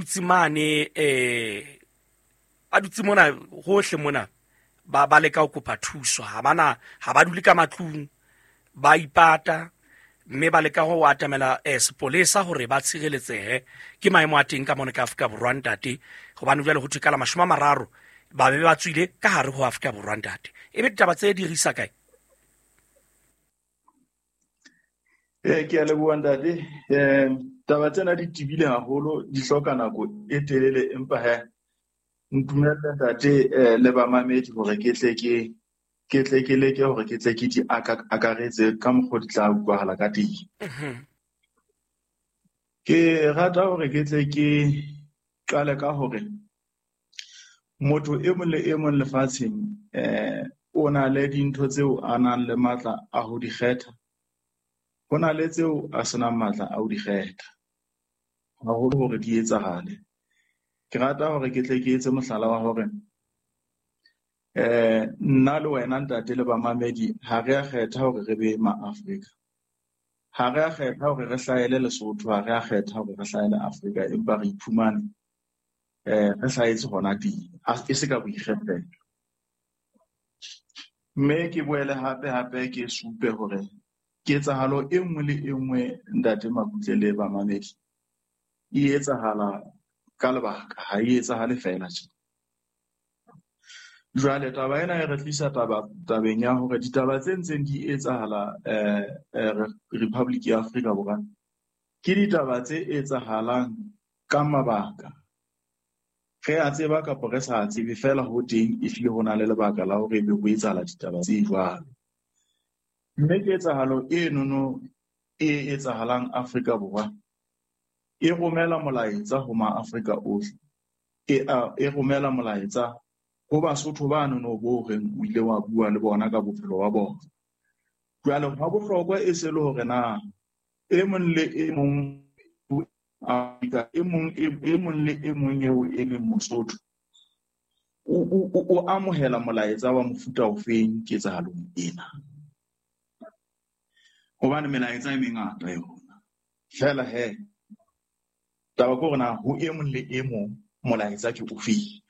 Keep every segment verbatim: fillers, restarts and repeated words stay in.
dutse mane eh ba dutse mona hohle mona ba ba leka ho kopa thuso ha bana ha ba dule ka matlung ba ipata mme ba leka ho atamela eh, sepolesa hore ba tshireletsehe ke maemo a teng ka mona ka Afrika Borwa ntate hobane jwale ho thwe ka la mashome a mararo ba be ba tswile ka hare ho Afrika Borwa ntate ebe ditaba tse di risa kae? Eh, ke a leboha ntate. Eh, taba tsena di tebile haholo, di hloka nako e telele, empa he ntumelle ntate eh, le bamamedi hore ke tle ke ke tle ke leke hore ke tle ke di aka- akaretse ka mokgwa di tla utlwahala ka teng. Mhm. Ke rata hore ke tle ke qale ka hore motho e mong le e mong lefatsheng eh o na le dintho tseo a nang le matla a ho di kgetha, ho na le tseo a senang matla a ho di kgetha, haholo hore di etsahale. Ke rata hore ke tle ke etse mohlala wa hore eh nna le wena ntate le bamamedi ha re a kgetha hore re be ma-Afrika, ha re a kgetha hore re hlahele Lesotho, ha re a kgetha hore re hlahele Afrika, empa re iphumane eh re hlahetse hona teng, e se ka boikgethelo. Mme ke boele hape hape ke supe hore ketsahalo e nngwe le e nngwe ntate Makutle le bamamedi e etsahala ka lebaka, ha e etsahale feela tje. Jwale taba ena e re tlisa taba tabeng ya hore ditaba tse ntseng di etsahala eh, eh, Republic ya Afrika Borwa ke ditaba tse etsahalang ka mabaka. Re a tseba kapa re sa tsebe, feela ho teng ehlile ho na le lebaka la hore ebe ho etsahala ditaba tse jwalo. Mme ketsahalo enono e etsahalang Afrika Borwa e romela molaetsa ho ma-Afrika ohle, e, a, e romela molaetsa ho Basotho bano no bo reng o ile wa bua le bona ka bophelo ba bona. Jwale hwa bohlokwa e se le hore na e mong le e mong Afrika, e mong e mong le e mong eo e leng Mosotho o, o, o amohela molaetsa wa mofuta ofeng ketsahalong ena. Hobane melaetsa e mengata yona. Feela he, taba ke hore na ho e mong le e mong molaetsa ke ofeng.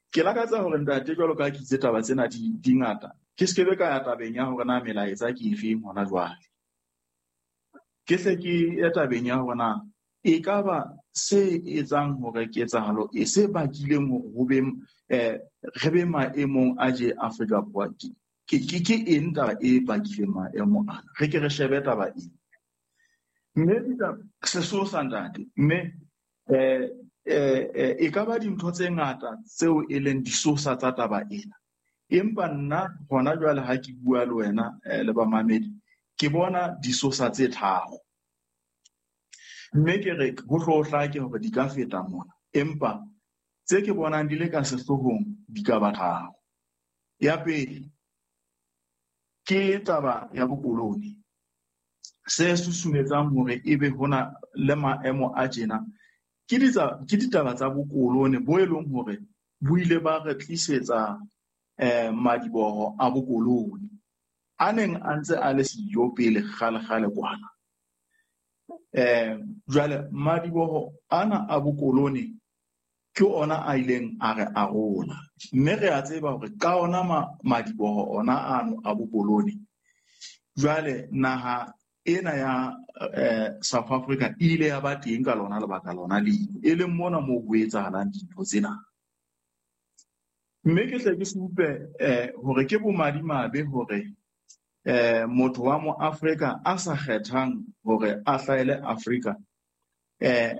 Ke lakatsa hore ntate jwalo ka ha ke itse taba tsena di, di ngata, ke se ke be ka ya tabeng ya hore na melaetsa ke efeng hona jwale. Ke hle ke ye tabeng ya hore na e ka ba se etsang hore ketsahalo e se bakileng hore ho be eh re be maemong a je Afrika Borwa ke ke ke eng taba e bakileng maemo ana. Re ke re shebe taba ena. Mme sesosa ntate, mme eh eh e ka ba dintho tse ngata tseo e leng disosa tsa taba ena. Empa nna hona jwale ha ke bua le wena le bamamedi, ke bona disosa tse tharo. Mme ke re ho hlo hlake hore di ka feta mona, empa tse ke bonang di le ka sehloohong di ka ba tharo. Ya pele ke taba ya bokoloni. Se susumetsang hore ebe hona le maemo a tjena ke ke ditaba tsa bokoloni bo e leng hore bo ile ba re tlisetsa eh madiboho a bokoloni a neng a ntse a le siyo pele kgale kgale kwana. Eh jwale madiboho ana a bokoloni ke ona a ileng a re arola, mme re a tseba hore ka ona madiboho ona ano a bokoloni jwale naha ena ya eh, South Africa e ile ya ba teng ka lona lebaka lona leo, e leng mona moo ho etsahalang dintho tsena. Mme ke hle ke supe eh, hore ke bomadimabe hore eh, motho wa mo Afrika a sa kgethang hore a hlahele Afrika eh,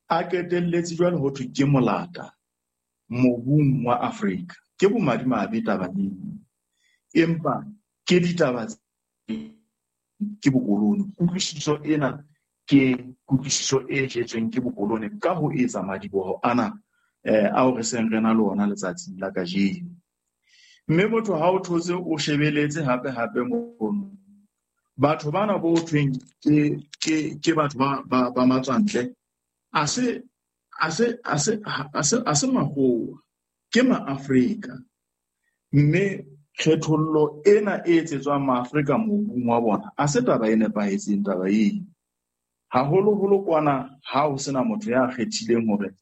a qetelletse jwale ho thwe ke molata mobung wa Afrika. Ke bomadimabe taba eo, empa ke ditaba ke bokoloni. Kutlwisiso ena ke kutlwisiso e jetsweng ke bokoloni ka ho etsa madiboho ana eh ao re seng re na le ona letsatsing la kajeno. Mme motho ha o thotse o shebeletse hape hape mono, batho bana bo thweng ke ke ke batho ba ba, ba matswantle, a se a se a se a se a se makgowa, ke ma-Afrika. Mme kgethollo ena e etsetswang ma-Afrika mobung wa bona a se taba e nepahetseng taba eo. Haholoholo kwana ha ho sena motho ya kgethileng hore